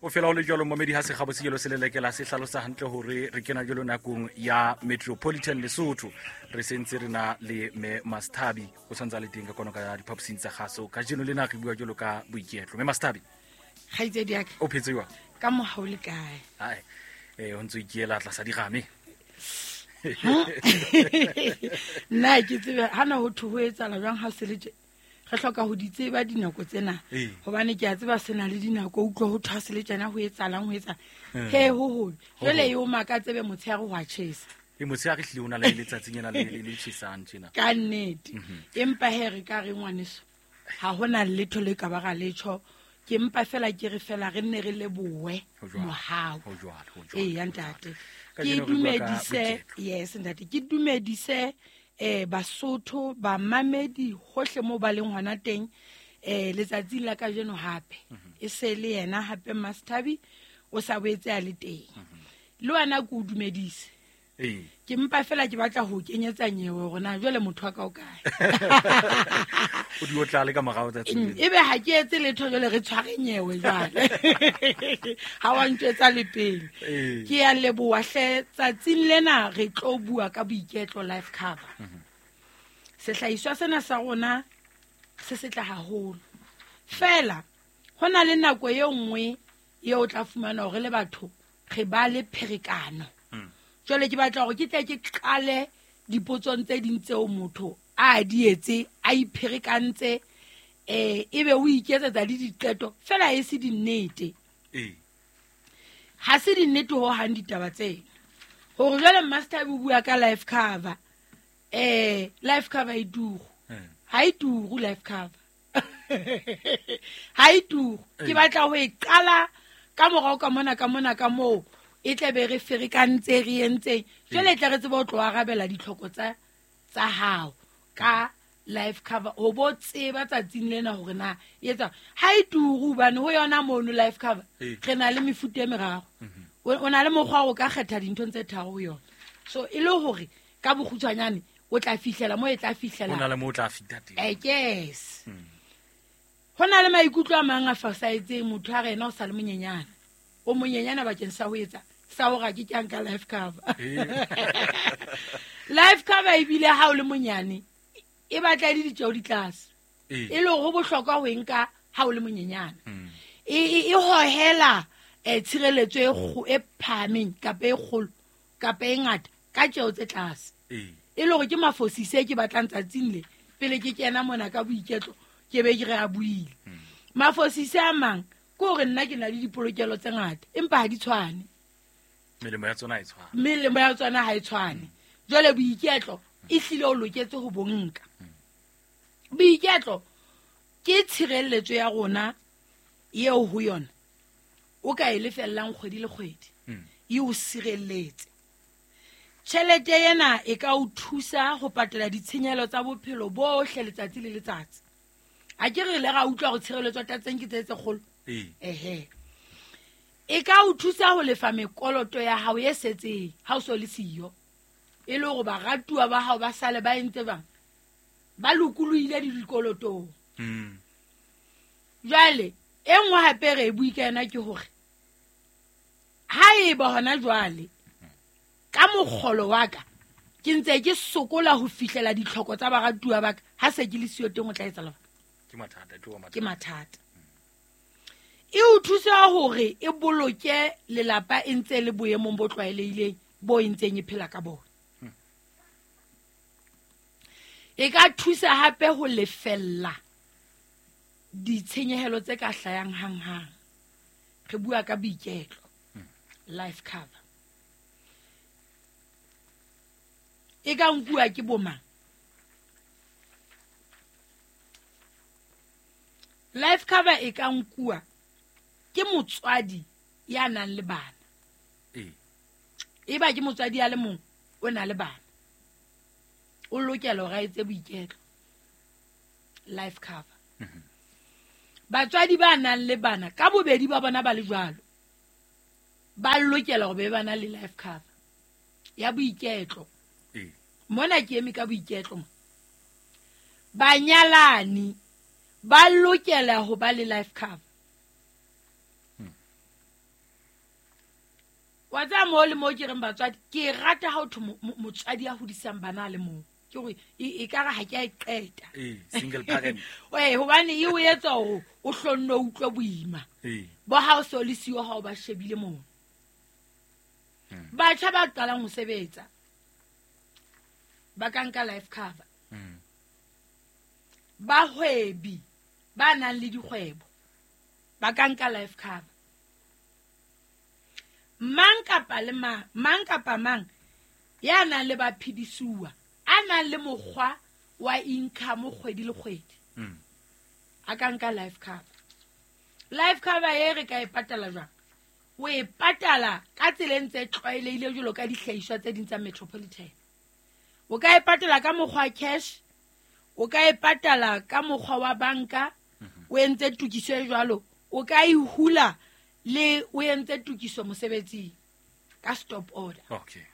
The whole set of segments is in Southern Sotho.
O fela o le jalo momedi ha sekgabo se jalo se lelekela se hlalosa hantle hore re kena jalo nakong ya Metropolitan Lesotho. Re sentse re na le me Mastabi o santse a le teng ka kono ka diphaposing tsa gaso. Kajeno le na re bua jalo ka boiketlo. Me Mastabi, kgaitsedi yaka, o phetse jwang? Ka mogau le kae? Ai, o ntse o ikiela tlasa digame. Nna ke tsebe hana ho thwe ho etsala jwang ha se le tje. Re hloka ho di tseba dinako tsena, hobane ke a tseba se na le dinako, utlwa ho thwa se le tjena ho etsalang, ho etsalang. He, ho hobe. Jwale e o maka tsebe motshehare ho a tjhesa. E motshehare hlile o na le letsatsing ena le tjhesang tjena. Ka nnete. Empa he re ka re ngwaneso, ha hona letho le ka ba ra letho. Ke mpa fela ke re fela re nne re lebohe Ho jwalo. mohau. Ho jwalo, ho jwalo, Ee, ho jwalo. ntate. Ka Ke jeno re bua ka dumedise, boiketlo. yes, ntate. Ke dumedise, Basotho, bamamedi hohle moo ba leng hona teng, letsatsing la kajeno hape. E se le yena hape Mastabi o sa boetse a le teng. Le wena ke o dumedise. Ke mpa fela ke batla ho kenyetsa nyewe hore na jwale motho wa ka o kae. O di o tlale ka morao tsatsing lena. Ebe ha ke etse letho jwale re tshware nyewe jwale. Ha wa ntjwetsa le pele. Ke a leboha hle, tsatsing lena re tlo bua ka boiketlo life cover. Sehlahiswa sena sa rona se setle haholo. Fela ho na le nako e nngwe eo o tla fumana hore le batho re ba le pherekano. Jwale ke batla hore ke tle ke qale dipotsong tse ding tseo motho a di etse, a ipherekantse, ebe o iketsetsa le diqeto, fela e se dinnete. Ha se dinnete ho hang ditaba tsena. Hore jwale Master o bua ka life cover. Life cover e turu. Ha e turu life cover. Ha e turu. Ke batla ho e qala ka morao ka mona, ka mona, ka moo. E tle be re ferekantse, re entseng. Jwale e tla re tsebe ho tlo arabela ditlhoko tsa hao ka life cover. O bo tseba tsatsing lena hore na e etsa. Ha e turu hobane ho yona mono life cover, re na le mefuta e meraro. O na le mokgwa o ka kgetha dinthong tse tharo ho yona. So e le hore ka bokgutshwanyane o tla fihlela moo e tla fihlela. Ho na le moo o tla fihla teng. Yes. Ho na le maikutlo a mang a fosahetseng, motho a re yena o sa le monyenyane. O monyenyane bakeng sa ho etsa sa hore ha ke ke a nka life cover. Life cover ebile ha o le monyane e batla e le ditjeo di tlase. E le hore ho bohlokwa ho e nka ha o le monyenyane. E hohela, tshireletso e phahameng kapa e kgolo kapa e ngata ka tjeo tse tlase. E le hore ke mafosise ke batlang tsatsing le pele ke kena mona ka boiketlo ke be ke re a buile. Mafosise a mang ke hore nna ke na le dipolokelo tse ngata empa ha di tshwane. Melemo ya tsona ha e tshwane. Melemo ya tsona ha e tshwane. Jwale boiketlo e hlile o loketse ho bo nka. Boiketlo ke tshireletso ya rona eo ho yona o ka e lefellang kgwedi le kgwedi. E o sireletse. Tjhelete ena e ka o thusa ho patala ditshenyehelo tsa bophelo bohle letsatsi le letsatsi. Ha ke re le ra utlwa hore tshireletso tsa teng ke tse tse kgolo. Ehe. E ka o thusa ho lefa mekoloto ya hao e setseng ha o so le siyo. E le hore baratuwa ba hao ba sale ba entse bang ba lokolohile le dikolotong. Jwale e nngwe hape re e bue ka yona ke hore ha eba hona jwale ka mokgolo wa ka ke ntse ke sokola ho fihlela ditlhoko tsa baratuwa ba ka, ha se ke le siyo teng o tla etsa lebaka. Ke mathata, e tlo ba mathata. Ke mathata. E o thusa hore e boloke lelapa e ntse le boemong bo tlwaelehileng bo e ntseng e phela ka bona. E ka thusa hape ho lefella ditshenyehelo tse ka hlayang hanghang. Re bua ka boiketlo, life cover. E ka nkuwa ke bo mang? Life cover e ka nkuwa ke motswadi ya nang le bana. Eba ke motswadi ya le mong o na le bana. O lokela hore a etse boiketlo. Life cover. Batswadi ba nang le bana ka bobedi ba bona ba le jwalo, ba lokela hore be ba na le life cover ya boiketlo. Mona ke eme ka boiketlo mo. Banyalani ba lokela ho ba le life cover. Wa tsaya mo le mo ke reng batswadi ke rata ha o thwe motswadi a hodisang bana le mong ke gore e ka re ha ke a e qeta. Single parent. Hobane e o etsa hore o hlonne o utlwe boima. Bo ha o so le siyo ha o ba shebile moo. Batjha ba qalang ho sebetsa ba ka nka life cover. Bahwebi ba nang le dikgwebo ba ka nka life cover. Mang kapa le mang kapa mang ya nang le baphedisuwa a nang le mokgwa wa income kgwedi le kgwedi a ka nka life cover. Life cover e re ka e patala jwang? O e patala ka tsela e ntse tlwaelehile jwalo ka dihlahiswa tse ding tsa Metropolitan. O ka e patala ka mokgwa cash, o ka e patala ka mokgwa wa banka, o entse tokiso e jwalo, o ka e hula le o entse tokiso mosebetsing ka stop order. Okay.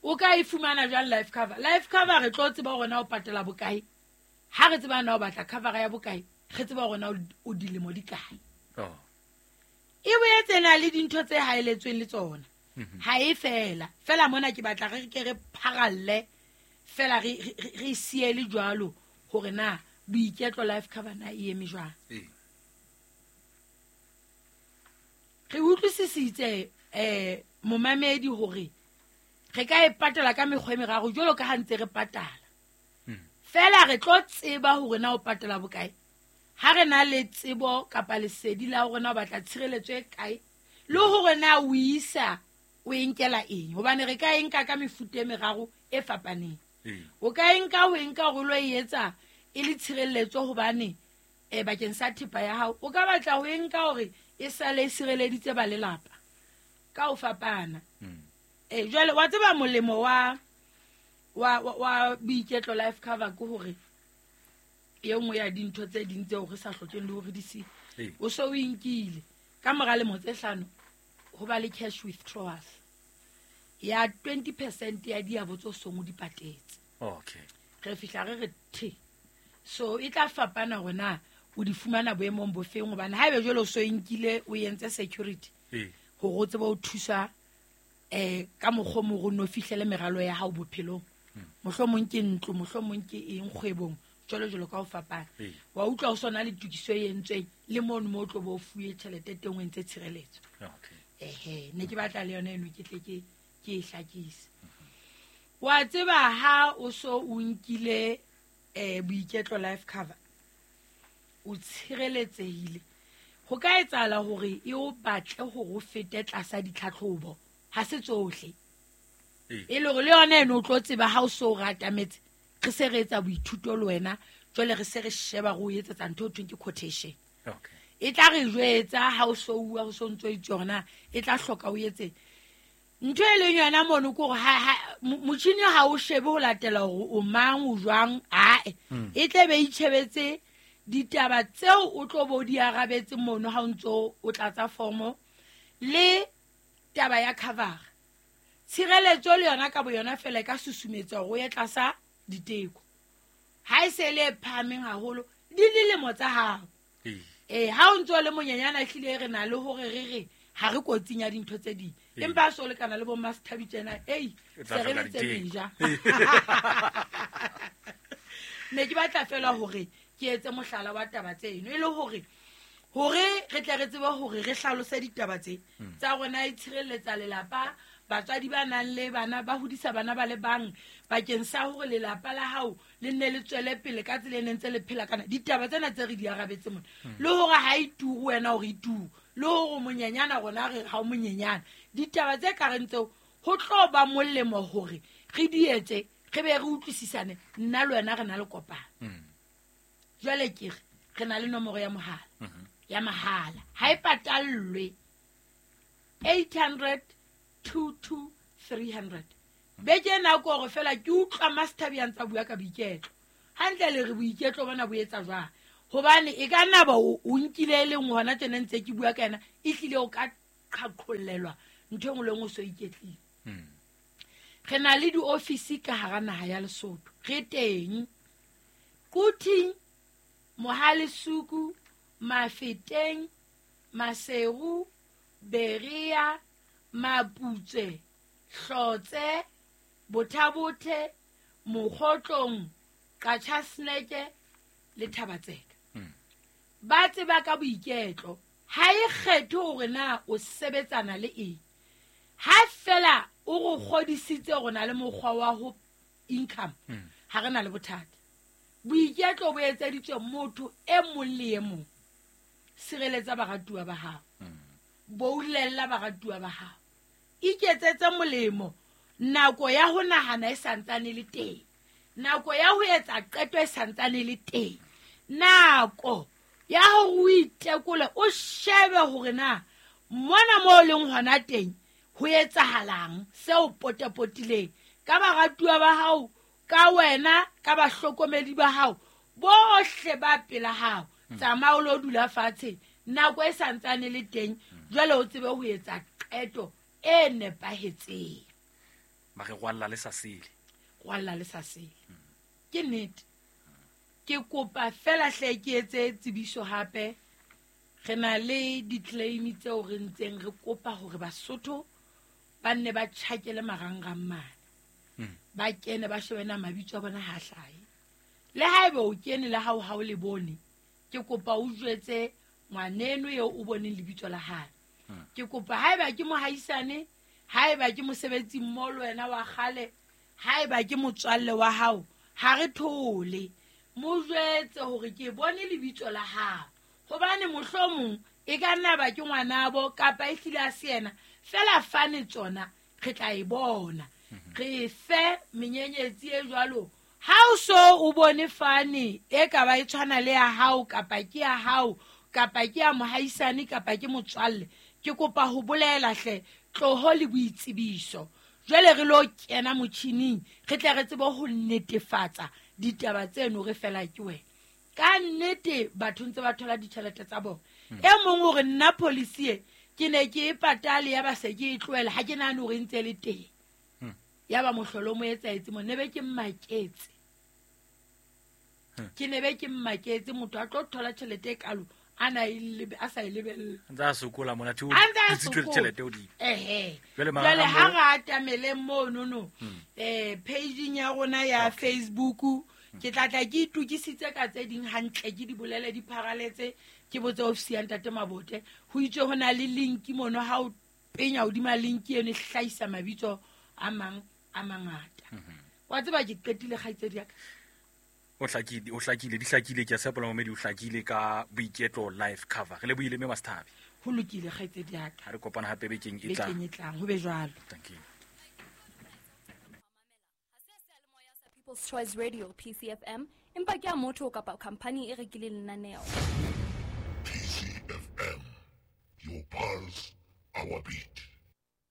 O ka e fumana jwang life cover? Life cover re tlo tseba hore na o patala bokae. Ha re tseba na o batla cover ya bokae, re tseba hore na o dilemo di kae. E boetse na le dintho tse haeletsweng le tsona. Ha e fela. Fela mona ke batla re ke re pharalle fela re siele jwalo hore na boiketlo life cover na e eme jwang. Re utlwisisitse momamedi hore re ka e patala ka mekgwa e meraro jwalo ka ha ntse re patala. Fela re tlo tseba hore na o patala bokae. Ha re na le tsebo kapa lesedi la hore na o batla tshireletso e kae le hore na o isa o e nkela eng, hobane re ka e nka ka mefuta e meraro e fapaneng. O ka e nka ho e nka hore lo e etsa e le tshireletso hobane bakeng sa thepa ya hao. O ka batla ho e nka hore e sale e sireleditse ba lelapa ka ho fapana. Jwale wa tseba molemo wa boiketlo life cover ke hore e nngwe ya dintho tse ding tseo re sa hlokeng le hore di se o so o inkile ka mora lemo tse 5 ho ba le cash withdrawals ya 20% ya diabo tso song o di patetse. Okay. Re fihla re the so e tla fapana hore na o di fumana boemong bo feng, hobane haebe jwale o so inkile o entse security hore o tsebe o thusa ka mokgwa mo go no fihlele meralo ya hao bophelong. Mohlomong ke ntlo, mohlomong ke eng kgwebong, jwalo jwalo ka ho fapana. Wa utlwa o sona le tokiso e entsweng le mono mo tlo bo fuwe tjhelete teng o entse tshireletso. Okay. Ne ke batla le yona eno ke tle ke e hlakise. Wa tseba ha o so o nkile boiketlo life cover o tshireletsehile. Ho ka etsahala hore e o batle hore o fete tlasa ditlhatlhobo, ha se tsohle. E le hore le yona eno o tlo tseba ha o so o ratametse, re se re etsa boithuto le wena, jwale re se re sheba re o etsetsa ntho e thweng ke quotation. Okay. E tla re jwetsa ha o so bua ho so ntso itse hore e tla hloka o etse ntho e leng yona mono ke hore motjhini ha o shebe ho latela hore o mang o jwang, ae e tle be itjhebetse ditaba tseo o tlo bo di arabetse mono ha o ntso o tlatsa formo le taba ya cover. Tshireletso le yona ka boyona fela e ka susumetsa hore o ye tlasa diteko. Ha e se le phahameng haholo di dilemo tsa hao. Ha o ntso le monyenyana hlile re na le hore re re ha re kotsing ya dintho tse ding. Empa so lekana le bo Master tsena, ei se re le tse meja. Ne ke batla fela hore ke etse mohlala wa taba tseno e le hore re tle re tsebe hore re hlalose ditaba tse tsa rona e tshireletsa lelapa, batswadi ba nang le bana ba hodisa bana ba le bang bakeng sa hore lelapa la hao le nne le tswele pele ka tsela e neng tse le phela kana. Ditaba tsena tse re di arabetse mona le hore ha e turu wena hore e turu, le hore monyenyana rona re ha o monyenyana. Ditaba tse ka reng tseo ho tlo ba molemo hore re di etse re be re utlwisisane nna le wena re na le kopano. Jwale ke re na le nomoro ya mohala ya mahala ha e patallwe 800 22 300. Beke ena ko hore fela ke utlwa Master ya ntsa bua ka boiketlo hantle le re boiketlo bona bo etsa jwang, hobane e ka nna ba o nkile e leng hona tjena ntse ke bua ka yena e hlile o ka qhaqhollelwa ntho e nngwe le nngwe o so iketlile. Re na le diofisi ka hara naha ya Lesotho, re teng Quthing, Mohalesuku, Mafeteng, Maseru, Berea, Maputswe, Hlotse, Bothabothe, Mokgotlong, Qachaseneke le Thabatseka. Ba tseba ka boiketlo, ha e kgethe hore na o sebetsana le eng. Ha fela o go kgodisitse go na le mokgwa wa ho income, ha re na le bothata. Boiketlo bo etseditswe motho e mong le e mong. Sireletsa baratuwa ba hao. Boulella baratuwa ba hao. Iketsetse molemo. Nako ya ho nahana e santsane le teng. Nako ya ho etsa qeto e santsane le teng. Nako ya hore o itekole, o shebe hore na mona mo o leng hona teng ho etsahalang seo potapotileng ka baratuwa ba hao, ka wena, ka bahlokomedi ba hao bohle ba pela hao. Tsamaya o lo dula fatshe nako e santsane le teng, jwale o tsebe ho etsa qeto e nepahetseng. Ba re rwalla le sa sele. Rwalla le sa sele. Ke nnete. Ke kopa fela hle ke etse tsebiso hape. Re na le di-claim tseo re ntseng re kopa hore Basotho ba nne ba tjhakele marangrang mane. Ba kene ba shebe na mabitso a bona ha hlahe. Le haeba o kene le hao ha o le bone, ke kopa o jwetse ngwaneno eo o boneng lebitso la hae. Ke kopa haeba ke mohaisane, haeba ke mosebetsi mmoho le wena wa kgale, haeba ke motswalle wa hao, ha re thole. Mo jwetse hore ke bone lebitso la hao. Hobane mohlomong e ka nna ba ke ngwanabo kapa e hlile a se yena, fela fane tsona re tla e bona. Re fe menyenyetsi e jwalo. Ha o so o bone fane e ka ba e tshwana le ya hao kapa ke ya hao kapa ke ya mohaisane kapa ke motswalle, ke kopa ho bolela hle tloho le boitsebiso. Jwale re lo kena motjhining re tle re tsebe ho netefatsa ditaba tseno re fela ke wena. Ka nnete batho ntse ba thola ditjhelete tsa bona. E mong hore nna policy e ke ne ke e patale ya ba se ke e tlohela, ha ke nahane hore e ntse le teng. Ya ba mohlolo mo etsaetse mo, ne be ke mmaketse. Ke ne be ke mmaketse motho a tlo thola tjhelete e kalo a na e lebe, a sa e lebelle. Ntse a sokola mona, thi o A ntse a utswitse sokola. tjhelete hodimo. Ehe. Jwale Jwale mara ha mo- re atamele mono no, page-ing ya rona ya Facebook, ke tla tla ke itokisitse ka tse ding hantle, ke di bolele di pharaletse, ke botse ofisi ya Ntate Mabote. Ho itswe ho na le link mono, ha o penya hodima link eno e hlahisa mabitso a mang a mangata. Wa tseba ke qetile kgaitsedi ya ka. O hlakile, o hlakile, di hlakile, ke a tshepa momedi o hlakile ka boiketlo life cover. Re lebohile mme Masthabi. Ho lokile kgaitsedi ya ka. Ha re kopana hape bekeng e tlang. Bekeng e tlang, ho be jwalo. Thank you. People's Choice Radio PCFM, empa ke ya motho kapa company e rekileng lenaneo. PCFM, your pulse, our beat.